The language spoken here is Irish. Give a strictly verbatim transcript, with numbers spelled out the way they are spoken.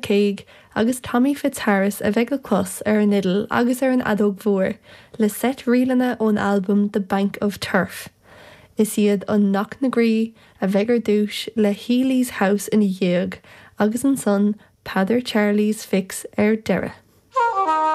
McCague agus Tommy Fitzharris a bheidh le clos ar an fhidil agus ar an fheadóg mhór le seit ríleanna ón albam The Bank of Turf. Is iad an Knocknagree a bheidh ar dtús le Healy's House ina dhiaidh agus ansan Peadar Charlie's Fix ar deireadh.